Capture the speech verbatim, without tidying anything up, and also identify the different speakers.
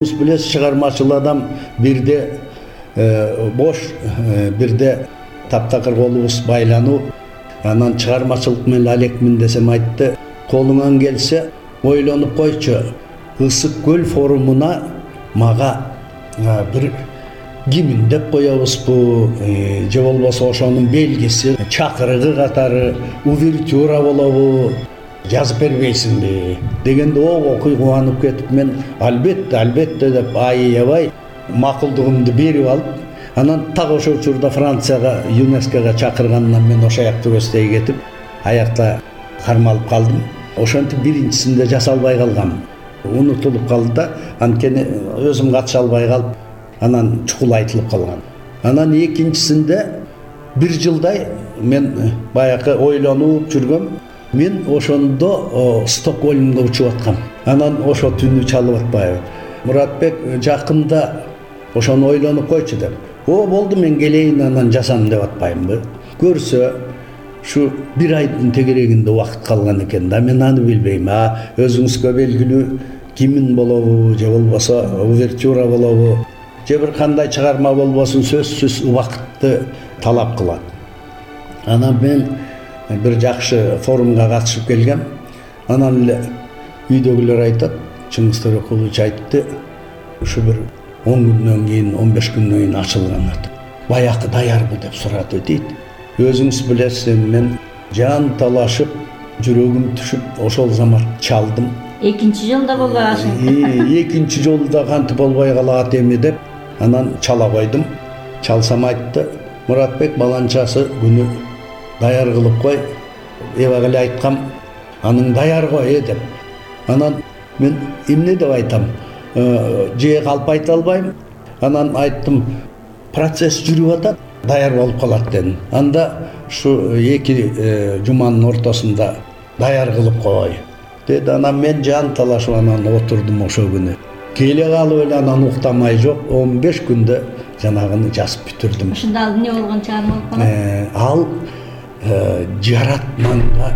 Speaker 1: Билесиз, чыгармачыл адам бирде бош, бирде таптакыр колубуз байлануу. Анан чыгармачылык менен алекмин десем айтты. Колуңан келсе, ойлонуп койчу. Ысык көл форумуна мага бир кимин деп коебузбу, же болбосо ошонун белгиси, чакырыгы катары увертюра болобу, жазып бербейсиңби дегенде о окуй кубанып кетип, мен албетте албетте деп аябай макулдугумду берип алып, анан так ошол учурда Францияга ЮНЕСКОга чакырганынан мен ошол жакта көздөй кетип, аякта кармалып калдым. Ошентип биринчисинде жасалбай калгам. Унутулуп калды да, анткени өзүм катыша албай калып, анан чукул айтылып калган. Анан экинчисинде бир жылдай мен баягы ойлонуп жүргөм. Мен ошондо Стокгольмго учуп аткам. Анан ошо түнү чалып атпайбы. Муратбек жакында ошону ойлонуп койчу деп. О болду, мен келейин анан жасам деп атпаймынбы. Көрсө ушу бир айдын тегерегинде убакыт калган экен да, мен аны билбейм. А өзүңүзгө белгилүү кимин болобу, же болбосо увертюра болобу, же бир кандай чыгарма болбосун, сөзсүз убакытты талап кылат. Анан мен бир жакшы форумга катышып келгем. Анан эле үйдөгүлөр айтат, Чыңгыз Төрөкулович айтты, ушу бир он күндөн кийин, он беш күндөн кийин ачылган атып. Баягы даярбы деп сурады дейт. Өзүңүз билесиз, мен жан талашып, жүрөгүм түшүп, ошол замат чалдым.
Speaker 2: Экинчи жолда болбаган.
Speaker 1: Экинчи жолда кантип болбой калат эми деп, анан чала койдум. Чалсам айтты, Муратбек баланчасы күнү даяр кылып кой. Эбак эле айткам, аның даяр кой э деп. Анан мен эмне деп айтам? Же калп айта албайм. Анан айттым, процесс жүрүп атат, даяр болуп калат дедим. Анда ушу эки жуманын ортосунда даяр кылып кой деди. Анан мен жан талашып анан отурдум ошол күнү. Келе калып эле анан уктамай жок, он беш күндө жанагыны жазып бүтүрдүм.
Speaker 2: Ушунда ал эмне болгон чыгарма болуп калат?
Speaker 1: Ал жаратманга